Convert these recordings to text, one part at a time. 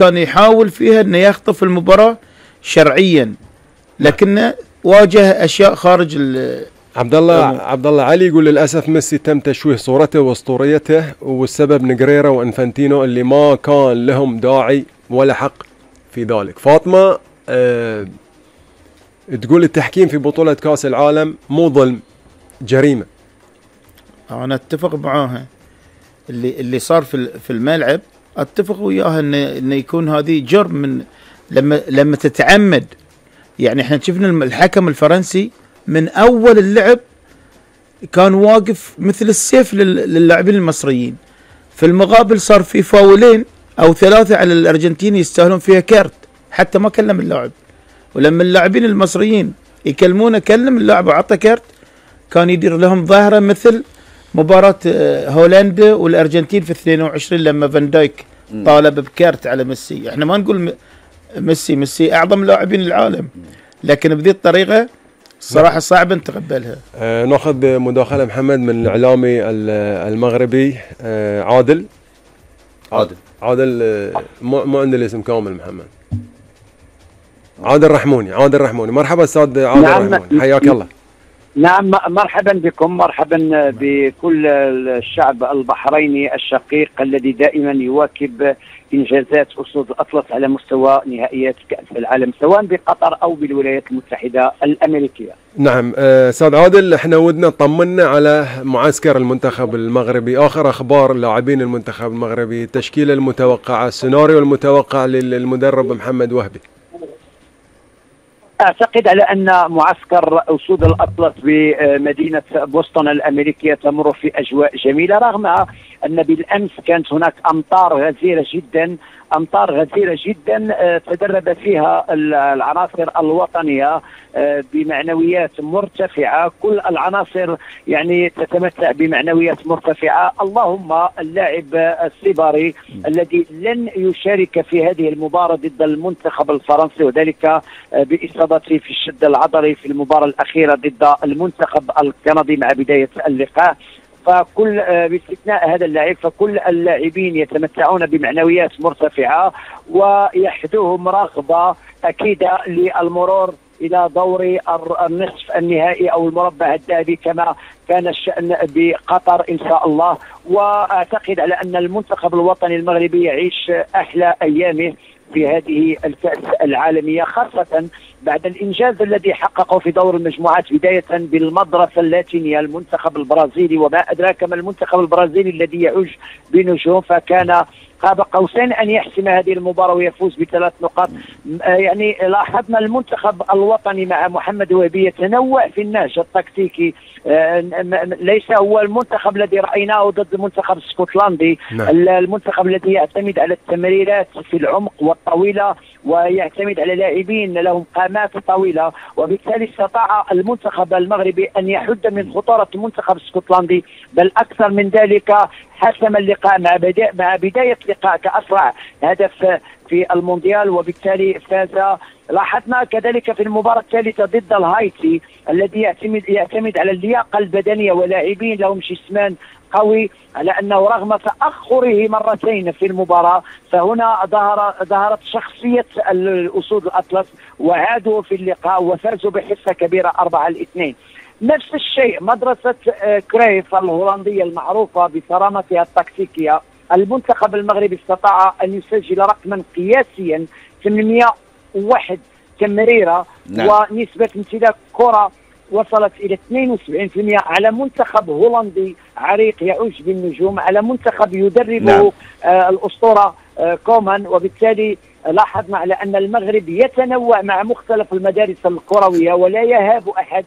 كان يحاول فيها انه يخطف المباراة شرعيا، لكنه واجه اشياء خارج عبد الله علي يقول للاسف ميسي تم تشويه صورته واسطوريته، والسبب نجريرا وانفانتينو اللي ما كان لهم داعي ولا حق في ذلك. فاطمة تقول التحكيم في بطولة كاس العالم مو ظلم، جريمة. انا اتفق معاها. اللي صار في الملعب اتفق وياها انه يكون هذه جرم من لما تتعمد. يعني احنا شفنا الحكم الفرنسي من اول اللعب كان واقف مثل السيف للاعبين المصريين. في المقابل صار في فاولين او 3 على الارجنتين يستاهلون فيها كارت، حتى ما كلم اللاعب. ولما اللاعبين المصريين يكلمونه كلم اللاعب وعطى كارت، كان يدير لهم ظاهرة مثل مباراة هولندا والارجنتين في 22 لما فان دايك طالب بكارت على ميسي. احنا ما نقول ميسي اعظم لاعبين العالم، لكن بذي الطريقة الصراحة صعب نتقبلها. ناخذ مداخلة محمد من الاعلامي المغربي عادل مو عندي الاسم كامل. محمد عادل رحموني. مرحبا استاذ عادل. نعم. رحموني، حياك الله. نعم، مرحبا بكم، مرحبا بكل الشعب البحريني الشقيق الذي دائما يواكب إنجازات أسود الأطلس على مستوى نهائيات كأس العالم سواء بقطر أو بالولايات المتحدة الأمريكية. نعم أستاذ عادل، احنا ودنا طمنا على معسكر المنتخب المغربي، آخر أخبار لاعبين المنتخب المغربي، التشكيلة المتوقعة، السيناريو المتوقع للمدرب محمد وهبي. أعتقد على أن معسكر أسود الأطلس بمدينة بوسطن الأمريكية تمر في أجواء جميلة، رغم أن بالأمس كانت هناك أمطار غزيرة جدا تدرب فيها العناصر الوطنية بمعنويات مرتفعة. كل العناصر يعني تتمتع بمعنويات مرتفعة. اللهم اللاعب السيباري الذي لن يشارك في هذه المباراة ضد المنتخب الفرنسي، وذلك بإصابته في الشد العضلي في المباراة الأخيرة ضد المنتخب الكندي مع بداية اللقاء. فكل باستثناء هذا اللاعب فكل اللاعبين يتمتعون بمعنويات مرتفعة، ويحدوهم رغبة أكيدة للمرور إلى دور النصف النهائي أو المربع الذهبي كما كان الشأن بقطر إن شاء الله. وأعتقد على أن المنتخب الوطني المغربي يعيش أحلى أيامه في هذه الكأس العالمية، خاصة بعد الإنجاز الذي حققه في دور المجموعات، بداية بالمدرسة اللاتينية المنتخب البرازيلي، وما أدراك ما المنتخب البرازيلي الذي يعج بنجوم، فكان قاب قوسين أن يحسم هذه المباراة ويفوز ب3 نقاط. يعني لاحظنا المنتخب الوطني مع محمد وهبي يتنوع في النهج التكتيكي، ليس هو المنتخب الذي رأيناه ضد المنتخب الاسكتلندي. المنتخب الذي يعتمد على التمريرات في العمق والطويلة، ويعتمد على لاعبين لهم قامات طويلة، وبالتالي استطاع المنتخب المغربي أن يحد من خطورة المنتخب الاسكتلندي، بل أكثر من ذلك حسم اللقاء مع بداية لقاء كأسرع هدف في المونديال، وبالتالي فاز. لاحظنا كذلك في المباراة الثالثة ضد الهايتي الذي يعتمد على اللياقة البدنية ولاعبين لهم جسمان قوي، على أنه رغم تأخره مرتين في المباراة فهنا ظهرت شخصية الأسود الأطلس وعادوا في اللقاء وفازوا بحصة كبيرة 4-2. نفس الشيء مدرسة كريف الهولندية المعروفة بصرامتها التكتيكية. المنتخب المغربي استطاع أن يسجل رقما قياسيا 801 تمريرة، ونسبة امتلاك كرة وصلت إلى 72% على منتخب هولندي عريق يعج بالنجوم، على منتخب يدربه الأسطورة كومان. وبالتالي لاحظنا على أن المغرب يتنوع مع مختلف المدارس الكروية ولا يهاب أحد.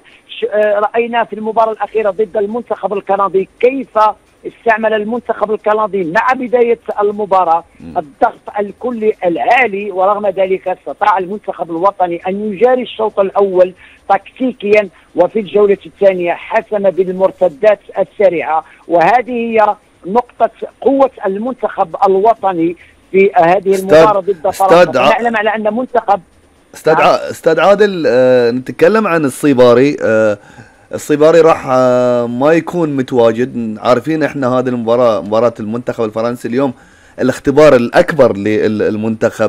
رأينا في المباراة الأخيرة ضد المنتخب الكندي كيف استعمل المنتخب الكندي مع بداية المباراة الضغط الكلي العالي، ورغم ذلك استطاع المنتخب الوطني أن يجاري الشوط الأول تكتيكيا، وفي الجولة الثانية حسم بالمرتدات السريعة. وهذه هي نقطة قوة المنتخب الوطني في هذه المباراة ضد فرنسا. نعلم على أن منتخب استاذ عادل نتكلم عن الصيباري. الصيباري راح ما يكون متواجد. عارفين احنا هذه المباراة مباراة المنتخب الفرنسي اليوم الاختبار الاكبر للمنتخب